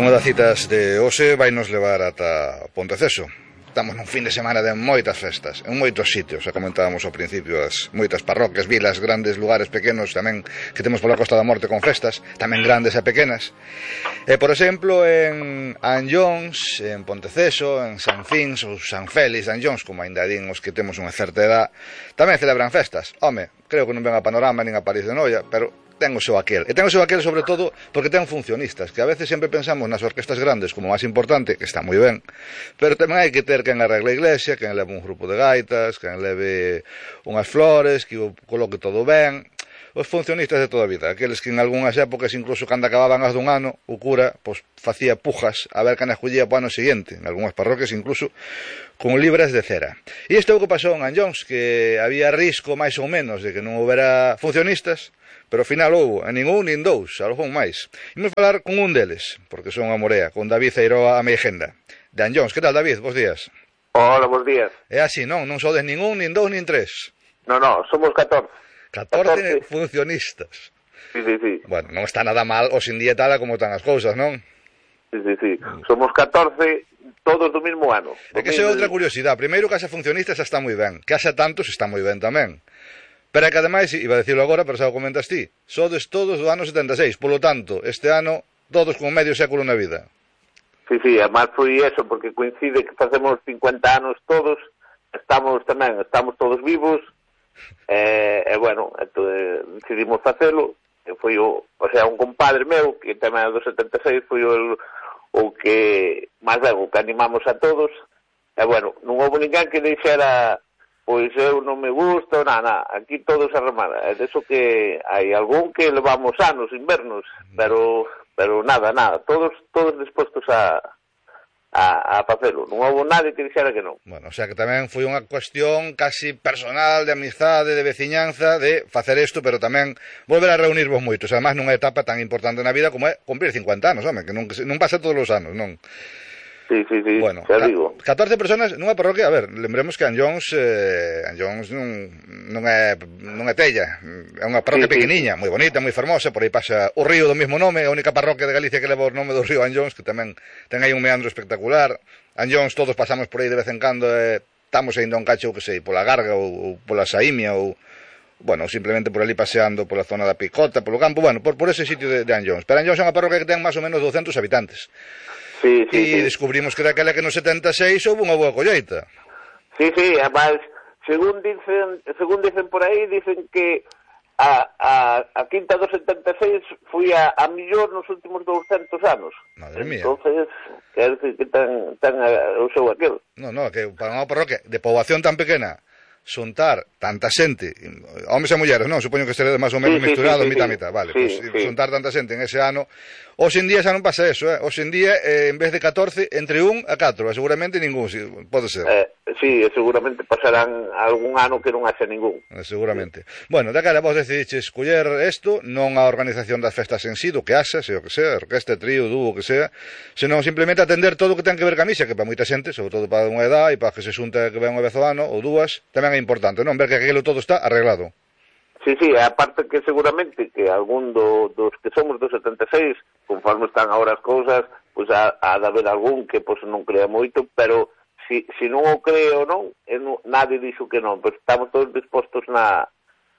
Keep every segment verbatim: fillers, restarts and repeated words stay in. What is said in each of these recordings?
Unha das citas de hoxe vai nos levar ata Ponteceso. Estamos nun fin de semana de moitas festas, en moitos sitios, xa comentábamos ao principio, as moitas parroquias, vilas, grandes lugares pequenos tamén que temos pola Costa da Morte con festas, tamén grandes e pequenas. E, por exemplo, en Anllóns, en Ponteceso, en San Fins ou San Félix de Anllóns, como ainda din os que temos unha certa edad, tamén celebran festas. Home, creo que non ven a Panorama nin a París de Noia, pero ten o seu aquel. E ten o seu aquel sobre todo porque ten funcionistas, que a veces sempre pensamos nas orquestas grandes como máis importante, que está moi ben, pero tamén hai que ter quen arregle a iglesia, quen leve un grupo de gaitas, quen leve unhas flores, que o coloque todo ben. Os funcionistas de toda a vida, aqueles que en algunhas épocas, incluso cando acababan as dun ano, o cura pois, facía pujas a ver quen escollía para o ano seguinte, en algunhas parroquias incluso con libras de cera. E isto é o que pasou en Anllóns, que había risco máis ou menos de que non houbera funcionistas, pero ao final houbo, a ningún nin dous, algo máis. Imos falar con un deles, porque son a Morea, con David Eiroa a Meigenda, de Anllóns. Que tal, David? Bos días. Hola, bos días. É así, non? Non sodes ningún, nin dous, nin tres. No, no, somos catorce. catorce funcionistas. Sí, sí, sí. Bueno, non está nada mal hoxe en día tal como están as cousas, non? Sí, sí, sí. Somos catorce, todos do mesmo ano. É que esa é outra curiosidade. Primeiro, que haxa funcionistas está moi ben. Que haxa tantos está moi ben tamén. Pero é que ademais, iba a decirlo agora, pero xa o comentas ti, sodes todos do ano setenta e seis, polo tanto, este ano, todos con medio século na vida. Sí, sí, además foi eso, porque coincide que facemos cincuenta anos todos, estamos tamén, estamos todos vivos, e, eh, bueno, entón, decidimos facelo, e foi o, o sea, un compadre meu, que tamén é do setenta e seis, foi o, o que, máis ben, o que animamos a todos, e bueno, non houve ninguén que dixera... Pois eu non me gusta, nada, nada, aquí todo se remana. É deso que hai algún que levamos anos, invernos, pero pero nada, nada, todos todos dispostos a a, a facelo. Non houve nadie que dixera que non. Bueno, o sea que tamén foi unha cuestión casi personal, de amizade, de veciñanza, de facer isto, pero tamén volver a reunirvos moitos, además nunha etapa tan importante na vida como é cumprir cincuenta anos, home, que non, que non pasa todos os anos, non? Sí, sí, sí, bueno, xa digo. catorce personas nunha parroquia, a ver, lembremos que Anllóns, eh, Anllóns non, non, é, non é Tella, é unha parroquia sí, pequeniña, sí. Moi bonita, moi fermosa, por aí pasa o río do mesmo nome, a única parroquia de Galicia que leva o nome do río Anllóns, que tamén ten aí un meandro espectacular. Anllóns todos pasamos por aí de vez en cando, eh, estamos ainda un cacho, que sei, pola Garga ou, ou pola Saímia ou... bueno, simplemente por ali paseando pola zona da Picota, polo campo, bueno, por, por ese sitio de, de Anllóns. Pero Anllóns é unha parroquia que ten máis ou menos douscentos habitantes. Sí, sí, e sí. Descubrimos que daquela que no setenta e seis houve unha boa colleita. Sí, sí, además, según dicen, según dicen por aí, dicen que a, a, a quinta do setenta e seis foi a, a millor nos últimos douscentos anos. Madre mía. Entonces, quer decir que ten, ten o seu aquel. No, no, que para unha parroquia de poboación tan pequena, xuntar tanta xente, homes e mulleres, non? Supoño que será máis ou menos sí, misturado, sí, sí, mitad, sí. mitad, vale, sí, pues, sí. Xuntar tanta xente en ese ano, hoxe en día xa non pasa eso, eh? Hoxe en día, eh, en vez de catorce, entre un a catro, e seguramente ningún, si, pode ser. Eh, sí, seguramente pasarán algún ano que non haxe ningún. Eh, seguramente. Sí. Bueno, da cara vos decidiches escoller isto, non a organización das festas en sí, do que haxa, se o que sea, orquesta, trío, dúo, o que sea, senón simplemente atender todo o que ten que ver ca misa, que para moita xente, sobre todo para unha edad, e para que se xunte que ven unha vez ao ano, ou dúas, tamén é importante, non? Ver que aquilo todo está arreglado. Sí, sí, aparte que seguramente que algún do, dos que somos do setenta e seis, conforme están agora as cousas, pois pues, ha, ha de haber algún que pois, non crea moito, pero si, si non o creo non, non, nadie dixo que non, pois pues, estamos todos dispostos na,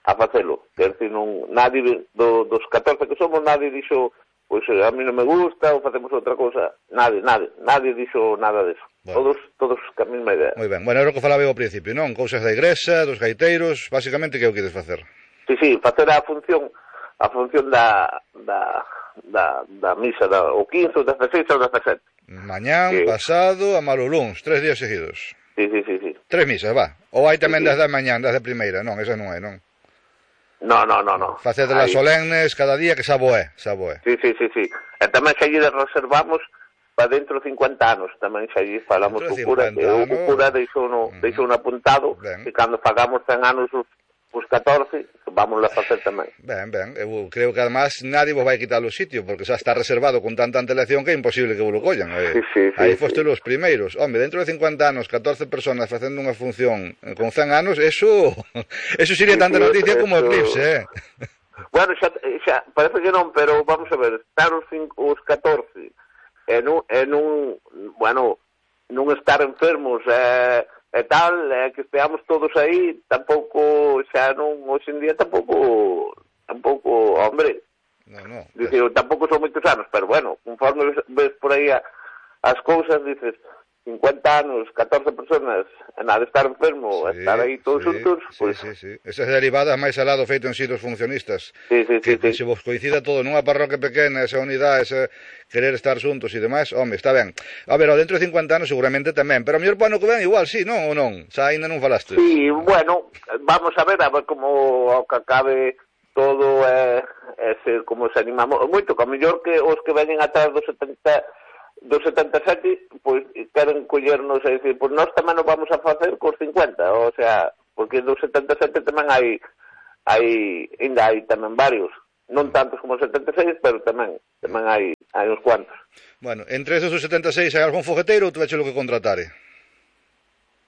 a facelo. Quer dizer, non, nadie do, dos catorce que somos, nadie dixo pois pues, a mí non me gusta ou facemos outra cousa. Nadie, nadie, nadie dixo nada deso. Bueno. Todos, todos ca mesma idea. Moi ben, bueno, era o que falaba eu ao principio, non? Cousas da igrexa, dos gaiteiros, basicamente, que é o que queres facer? Sí, sí, facer a función a función da da, da, da misa da, o quince, o dezasseis ou dezasete. Mañán, que... pasado, a maloluns, tres días seguidos. Sí, sí, sí, sí. Tres misas, va. Ou hai tamén sí, sí. das da mañán, das da primeira, non, esa non hai, non? No, no, no, no. Facedes las solemnes cada día, que xa boé, xa boé. Sí, sí, sí, sí. E tamén xa lle reservamos para dentro de cincuenta anos, tamén xa lle falamos co cura, que o cura deixou no, uh-huh. deixou un apuntado, ben. Que cando fagamos cen anos os, os catorce, vamos a facer tamén. Ben, ben, eu creo que además nadie vos vai quitar o sitio, porque xa está reservado con tanta antelación que é imposible que vos lo collan. Eh. Sí, sí, sí, aí foste sí. Os primeiros. Home, dentro de cincuenta anos, catorce personas facendo unha función con cen anos, eso eso sería sí, tanta sí, noticia eso... como eclipse, eh. Bueno, xa, xa, parece que non, pero vamos a ver, estar os, cinco, os catorce e nun, e nun bueno, nun estar enfermos e, e tal, e que esteamos todos aí, tampouco, xa non, hoxe en día tampouco, tampouco, hombre, no, no, dice, es... tampouco son moitos anos, pero bueno, conforme ves, ves por aí a, as cousas, dices, cincuenta anos, catorce personas, e nada, estar enfermo, sí, estar aí todos sí, juntos, sí, pues... sí, sí. Esas derivadas máis al lado feito en sí dos funcionistas, sí, sí, que, sí, que sí. se vos coincida todo nunha parroquia pequena, esa unidade, ese querer estar xuntos e demais, home, está ben. A ver, ao dentro de cincuenta anos seguramente tamén, pero a mellor para ano que ven igual, sí, non ou non? Xa ainda non falaste. Sí, bueno, vamos a ver, a ver como ao que acabe todo, eh, ese, como se animamos moito, que a mellor que os que veñen atrás dos setenta... dos setenta e sete, pois queren collernos e dicir, pois nós tamén nos vamos a facer cos cincuenta, o sea, porque dos setenta e sete tamén hai, hai, ainda hai tamén varios, non tantos como os setenta e seis, pero tamén, tamén hai, hai uns cuantos. Bueno, entre esos dos setenta e seis hai algún fogueteiro ou tuveche lo que contratare?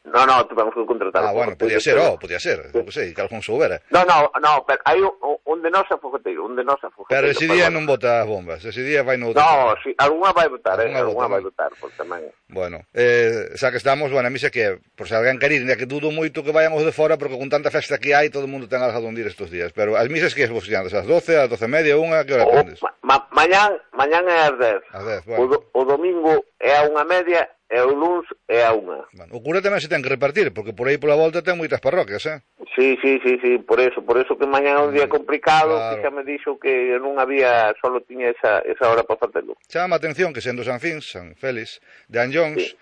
No, no, tivemos que contratar. Ah, bueno, podía ser, oh, podía ser, eu que sei, que algún soubera. No, no, no, pero hai un, un de nosa fogueteiro, un de nosa fogueteiro. Pero ese día bueno. non bota as bombas, ese día vai no outro. No, si, alguna vai botar, eh, alguna vai botar, porque tamén... Bueno, eh, xa que estamos, bueno, a mí xa que, por se alguén quer ir, que dudo moito que vayan os de fora, porque con tanta festa que hai, todo o mundo ten algo donde ir estes días. Pero as misas que es vos andas, ás doce, ás doce e media, unha, que hora tendes? Ma, ma, mañán, mañán é ás dez. Ás dez, bueno. O, do, o domingo é a unha media, e o luns é a unha. Bueno, o cura tamén se ten que repartir, porque por aí pola volta ten moitas parroquias, eh? Sí, sí, sí, sí, por eso, por eso que mañán é un día complicado, claro. Que xa me dixo que non había, solo tiña esa, esa hora para facelo. Chama a atención que sendo San Fins, San Félix, de Anllóns, sí.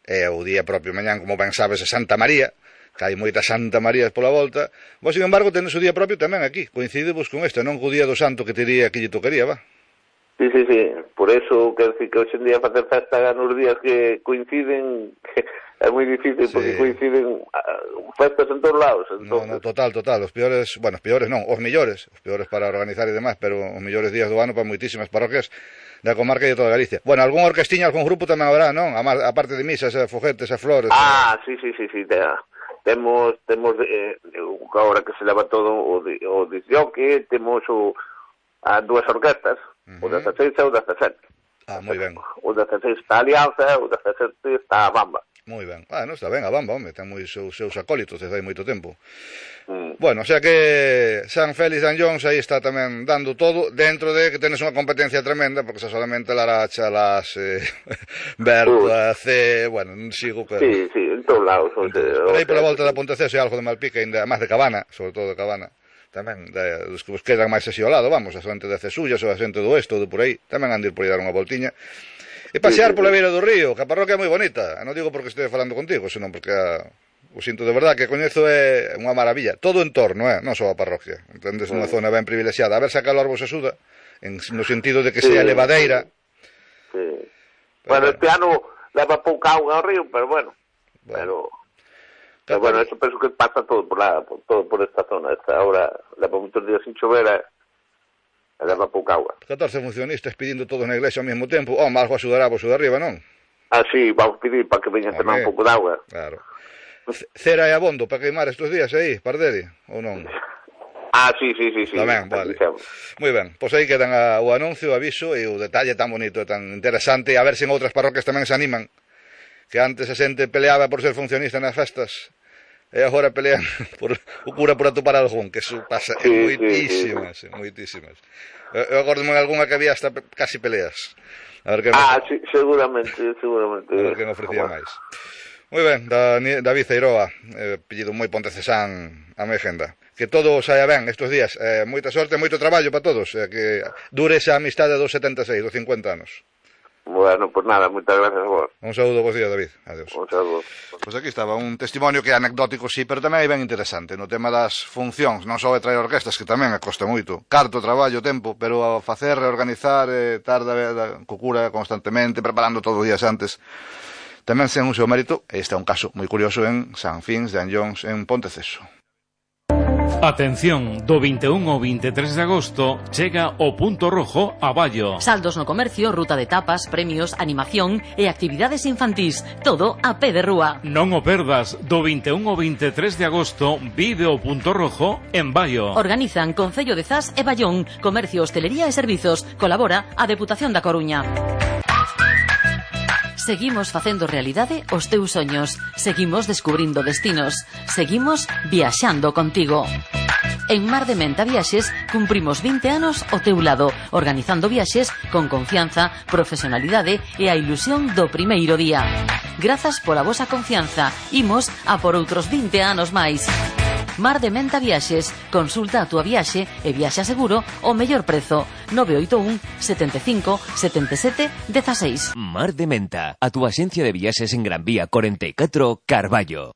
É o día propio mañán, como ben sabes, é Santa María, que hai moitas Santa Marías pola volta, vos, sin embargo, tendes o día propio tamén aquí, coincidimos con este, non co día do santo que te diría que lle tocaría, va? Sí, sí, sí, por eso, quero dicir que hoxe en día facer festa nos días que coinciden, que é moi difícil, sí. Porque coinciden uh, festas en todos lados. Entonces... No, no, total, total, os peores, bueno, os peores non, os millores, os peores para organizar e demás, pero os millores días do ano para moitísimas parroquias da comarca e de toda Galicia. Bueno, algún orquestiña, algún grupo tamén habrá, non? A parte de misas, a foguetes, a flores... Ah, sí, sí, sí, sí, te, temos, temos eh, agora que se leva todo o, o disjoque, temos o, a dúas orquestas, uh-huh. O dezasseis e o dezasete. Ah, moi ben. O dezasseis está a Alianza, o dezasete está a Bamba. Moi ben. Ah, non está ben a Bamba, home, ten moi seus, seus acólitos desde hai moito tempo. Mm. Bueno, o sea que San Félix de Anllóns aí está tamén dando todo, dentro de que tenes unha competencia tremenda, porque xa solamente Laracha, Las, eh, Berta, C, bueno, non sigo que... Sí, sí, en todos lados. Por aí pola volta da Ponteceso hai algo de Malpica, ainda máis de Cabana, sobre todo de Cabana. Tamén, de, dos que vos quedan máis así ao lado, vamos, a xente de Cesullas ou a xente do Oeste ou de por aí, tamén han de ir por aí dar unha voltiña. E pasear pola beira do río, que a parroquia é moi bonita, non digo porque estea falando contigo, senón porque a, o sinto de verdad que coñezo é unha maravilla, todo o entorno, eh? Non só a parroquia, entendes, unha zona ben privilexiada, a ver se a calor vos axuda, en, no sentido de que sea sí, levadeira. Sí. Pero bueno, este ano leva pouca auga ao río, pero bueno, bueno. pero... Pero bueno, eso penso que pasa todo por la, por, todo por esta zona, esta hora leva moitos días sin chover e leva pouca agua. catorce funcionistas pedindo todos na iglesia ao mesmo tempo, oh, algo axudará vos de arriba, non? Ah, sí, vamos pedir para que veñan tamén un pouco de agua. Claro. Cera e abondo para queimar estes días aí, Parderi, ou non? Ah, sí, sí, sí, sí. Tamén, vale. Moi ben, pois aí quedan a, o anuncio, o aviso e o detalle tan bonito e tan interesante, a ver se en outras parroquias tamén se animan, que antes a xente peleaba por ser funcionista nas festas, e agora pelean por o cura por atopar algún, que eso pasa sí, en moitísimas, sí, sí. moitísimas. Eu acordo-me en algunha que había hasta casi peleas. A ver que ah, me... sí, seguramente, seguramente. A ver quen ofrecía máis. Moi ben, David Eiroa, eh, pedido moi pontecesán a mi agenda. Que todo saia ben estes días, eh, moita sorte, moito traballo para todos, eh, que dure esa amistade dos setenta e seis, dos cincuenta anos. Bueno, pues nada, moitas gracias a vos. Un saúdo, vos días, David. Adiós. Un saúdo. Pois aquí estaba un testimonio que é anecdótico, sí, pero tamén é ben interesante no tema das funcións, non só de traer orquestas, que tamén acosta moito, carto, traballo, tempo, pero a facer, reorganizar, eh, tarda, co cura constantemente, preparando todo os días antes, tamén sen un seu mérito. Este é un caso moi curioso en San Fins de Anllóns, en Ponteceso. Atención, do vinte e un ao vinte e tres de agosto chega o Punto Rojo a Ballo. Saldos no comercio, ruta de tapas, premios, animación e actividades infantís, todo a pé de rúa. Non o perdas, do vinte e un ao vinte e tres de agosto vive o Punto Rojo en Ballo. Organizan Concello de Zas e Ballón, Comercio, Hostelería e Servizos. Colabora a Deputación da Coruña. Seguimos facendo realidade os teus soños. Seguimos descubrindo destinos. Seguimos viaxando contigo. En Mar de Menta Viaxes cumprimos vinte anos ao teu lado, organizando viaxes con confianza, profesionalidade e a ilusión do primeiro día. Grazas pola vosa confianza. Imos a por outros vinte anos máis. Mar de Menta Viaxes. Consulta a túa viaxe e viaxa seguro ao mellor prezo. nove oito un, sete cinco, sete sete, uno seis. Mar de Menta, a túa axencia de viaxes en Gran Vía cuarenta y cuatro, Carballo.